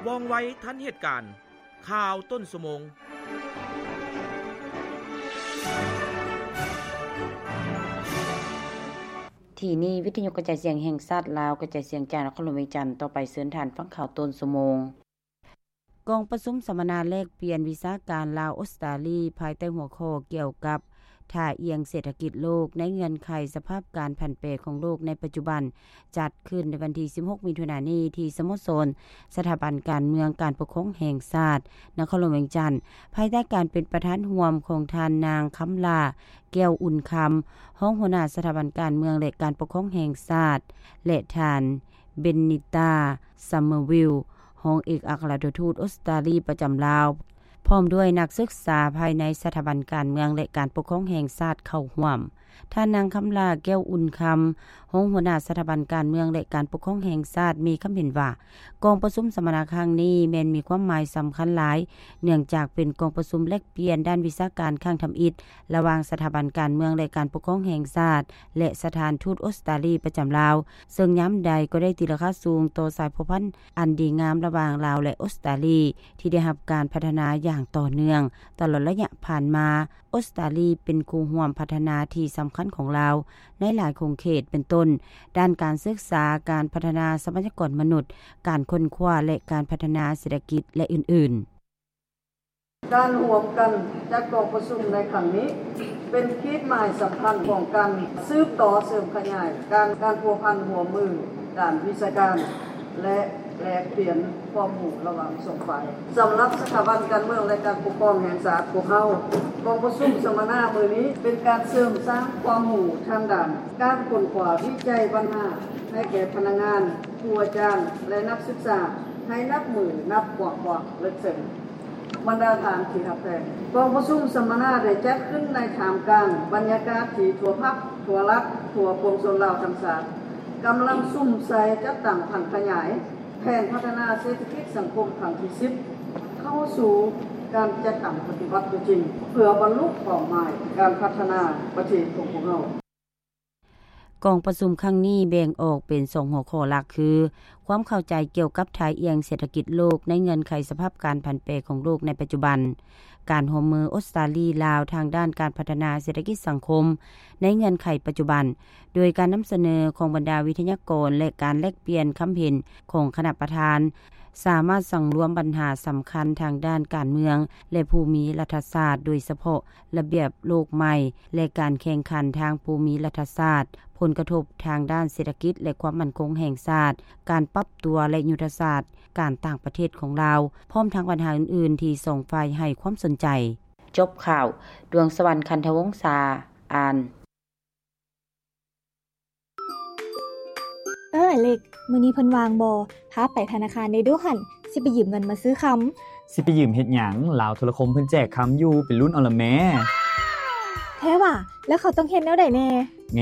ວ່ອງໄວທັນເຫດການ. ຂ່າວຕົ້ນຊົ່ວໂມງ. ທີ່ນີ້ ວິທະຍຸກະຈາຍສຽງແຫ່ງຊາດລາວ ກະຈາຍສຽງຈາກນະຄອນຫຼວງວຽງຈັນ. ຕໍ່ໄປເຊີນທ່ານຟັງຂ່າວຕົ້ນຊົ່ວໂມງ. ກອງປະຊຸມສຳມະນາແລກປ່ຽນວິຊາການລາວ-ອົດສະຕາລີ ພາຍໃຕ້ຫົວຂໍ້ກ່ຽວກັບ ທ່າອ່ຽງເສດຖະກິດໂລກໃນເງື່ອນໄຂສະພາບການຜັນແປຂອງໂລກໃນປັດຈຸບັນ ຈັດຂຶ້ນໃນວັນທີສິບຫົກ ມິຖຸນານີ້ ທີ່ສະໂມສອນສະຖາບັນການເມືອງການປົກຄອງແຫ່ງຊາດ ນະຄອນຫຼວງວຽງຈັນ, ພາຍໃຕ້ການເປັນປະທານຮ່ວມຂອງທ່ານນາງ ຄຳຫຼ້າ ແກ້ວອຸ່ນຄຳ ຮອງຫົວໜ້າສະຖາບັນການເມືອງ ແລະ ການປົກຄອງແຫ່ງຊາດ ແລະ ທ່ານ ເບນນິຕາ ຊັມເມີວິລ ຮອງເອກອັກຄະລັດຖະທູດອົດສະຕາລີປະຈຳລາວ ພ້ອມດ້ວຍນັກສຶກສາພາຍໃນສະຖາບັນການເມືອງ ແລະ ການປົກຄອງແຫ່ງຊາດເຂົ້າຮ່ວມ. ທ່ານນາງ ຄຳຫຼ້າ ແກ້ວອຸ່ນຄຳ ຮອງຫົວໜ້າສະຖາບັນການເມືອງ ແລະ ການປົກຄອງແຫ່ງຊາດ ມີຄຳເຫັນວ່າ ກອງປະຊຸມສຳມະນາຄັ້ງນີ້ແມ່ນມີຄວາມໝາຍສຳຄັນຫຼາຍ ເນື່ອງຈາກເປັນກອງປະຊຸມແລກປ່ຽນດ້ານວິຊາການຄັ້ງທຳອິດ ລະຫວ່າງສະຖາບັນການເມືອງ ແລະ ການປົກຄອງແຫ່ງຊາດ ແລະ ສະຖານທູດອົດສະຕາລີປະຈຳລາວ, ເຊິ່ງຍາມໃດກໍໄດ້ຕີລາຄາສູງຕໍ່ສາຍພົວພັນອັນດີງາມລະຫວ່າງລາວ ແລະ ອົດສະຕາລີ ທີ່ໄດ້ຮັບການພັດທະນາຢ່າງຕໍ່ເນື່ອງຕະຫຼອດໄລຍະຜ່ານມາ. ອົດສະຕາລີເປັນຄູ່ຮ່ວມພັດທະນາທີ່ສຳຄັນຂອງລາວໃນຫຼາຍຂົງເຂດ ເປັນຕົ້ນ ດ້ານການສຶກສາ, ການພັດທະນາຊັບພະຍາກອນມະນຸດ, ການຄົ້ນຄວ້າ ແລະ ການພັດທະນາເສດຖະກິດ ແລະ ອື່ນໆ. ການຮ່ວມກັນຈັດກອງປະຊຸມໃນຄັ້ງນີ້ ເປັນຂີດໝາຍສຳຄັນຂອງການສືບຕໍ່ເສີມຂະຫຍາຍການ ການພົວພັນຮ່ວມມືດ້ານວິຊາການ ແລະ ແລກປ່ຽນຄວາມຮູ້ລະຫວ່າງສອງຝ່າຍ. ສຳລັບສະຖາບັນການເມືອງ ແລະ ການປົກຄອງແຫ່ງຊາດພວກເຮົາ, ກອງປະຊຸມສຳມະນາມື້ນີ້ເປັນການເສີມສ້າງຄວາມຮູ້ທາງດ້ານການຄົ້ນຄວ້າວິໄຈບັນຫາໃຫ້ແກ່ພະນັກງານ, ຄູອາຈານ ແລະ ນັກສຶກສາ ໃຫ້ນັບມື້ນັບກວ້າງຂວາງເລິກເຊິ່ງ. ບັນດາທ່ານທີ່ຮັກແພງ, ກອງປະຊຸມສຳມະນາໄດ້ຈັດຂຶ້ນໃນທ່າມກາງບັນຍາກາດທີ່ທົ່ວພັກ, ທົ່ວລັດ, ທົ່ວປວງຊົນລາວທັງຊາດ ກຳລັງສຸມໃສ່ຈັດຕັ້ງຜັນຂະຫຍາຍແຜນພັດທະນາເສດຖະກິດສັງຄົມຄັ້ງທີສິບ ເຂົ້າສູ່ການຈັດຕັ້ງປະຕິບັດຕົວຈິງ ເພື່ອບັນລຸເປົ້າໝາຍການພັດທະນາປະເທດຂອງພວກເຮົາ. ກອງປະຊຸມຄັ້ງນີ້ແບ່ງອອກເປັນສອງຫົວຂໍ້ຫຼັກ ຄື ຄວາມເຂົ້າໃຈກ່ຽວກັບທ່າອ່ຽງເສດຖະກິດໂລກໃນເງື່ອນໄຂສະພາບການຜັນແປຂອງໂລກໃນປັດຈຸບັນ, ການຮ່ວມມືອົດສະຕາລີ-ລາວທາງດ້ານການພັດທະນາເສດຖະກິດສັງຄົມໃນເງື່ອນໄຂປັດຈຸບັນ, ໂດຍການນຳສະເໜີຂອງບັນດາວິທະຍາກອນ ແລະ ການແລກປ່ຽນຄຳເຫັນຂອງຄະນະປະທານ ສາມາດສັງລວມບັນຫາສຳຄັນທາງດ້ານການເມືອງ ແລະ ພູມິລັດຖະສາດ, ໂດຍສະເພາະ ລະບຽບໂລກໃໝ່ ແລະ ການແຂ່ງຂັນທາງພູມິລັດຖະສາດ, ຜົນກະທົບທາງດ້ານເສດຖະກິດ ແລະ ຄວາມໝັ້ນຄົງແຫ່ງຊາດ, ການປັບຕົວ ແລະ ຍຸດທະສາດການຕ່າງປະເທດຂອງລາວ, ພ້ອມທັງບັນຫາອື່ນໆທີ່ສອງຝ່າຍໃຫ້ຄວາມສົນໃຈ. ຈົບຂ່າວ, ດວງສະຫວັນ ຄັນທະວົງສາ ອ່ານ. ເອີ ອາເລັກ, ມື້ນີ້ເພິ່ນວ່າງບໍ່? ພາໄປທະນາຄານແດ່ດູຫັ້ນ, ຊິໄປຢືມເງິນມາຊື້ຄຳ. ຊິໄປຢືມເຮັດຫຍັງ? ລາວໂທລະຄົມເພິ່ນແຈກຄຳຢູ່, ໄປລຸ້ນເອົາລະແມ້. ແທ້ຫວາ? ແລ້ວເຂົາຕ້ອງເຮັດແນວໃດແດ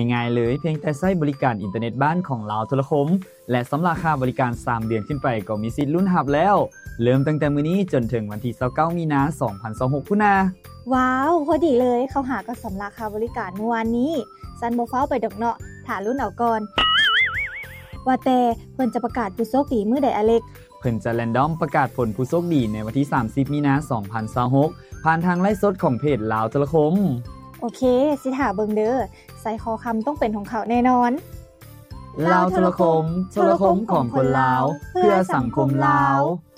່? ງ່າຍໆເລີຍ, ພຽງແຕ່ໃຊ້ບໍລິການອິນເຕີເນັດບ້ານຂອງລາວໂທລະຄົມ ແລະ ຊຳລະຄ່າບໍລິການສາມເດືອນຂຶ້ນໄປ ກໍມີສິດລຸ້ນຮັບແລ້ວ. ເລີ່ມຕັ້ງແຕ່ມື້ນີ້ຈົນເຖິງວັນທີຊາວເກົ້າ ມີນາ ສອງພັນຊາວຫົກ ພຸ້ນນາ. ວ້າວ, ພໍດີເລີຍ, ເຂົາຫາກໍຊຳລະຄ່າບໍລິການມື້ວານນີ້. ຊັ້ນບໍ່ຟ້າວໄປດອກເນາະ, ຖ້າລຸ້ນເອົາກ່ອນ. ວ່າແຕ່ ເພິ່ນຈະປະກາດຜູ້ໂຊກດີມື້ໃດ, ອາເລັກ? ເພິ່ນຈະແຣນດອມປະກາດຜົນຜູ້ໂຊກດີໃນວັນທີສາມສິບ ມີນາ ສອງພັນຊາວຫົກ ຜ່ານທາງໄລຟ໌ສົດຂອງເພຈລາວໂທລະຄົມ. ໂອເຄ, ຊິຖ້າເບິ່ງເດີ. ໄຊຄໍຄຳຕ້ອງເປັນຂອງເຂົາແນ່ນອນ. ລາວໂທລະຄົມ, ໂທລະຄົມຂອງຄົນລາວ, ເພື່ອສັງຄົມລາວ.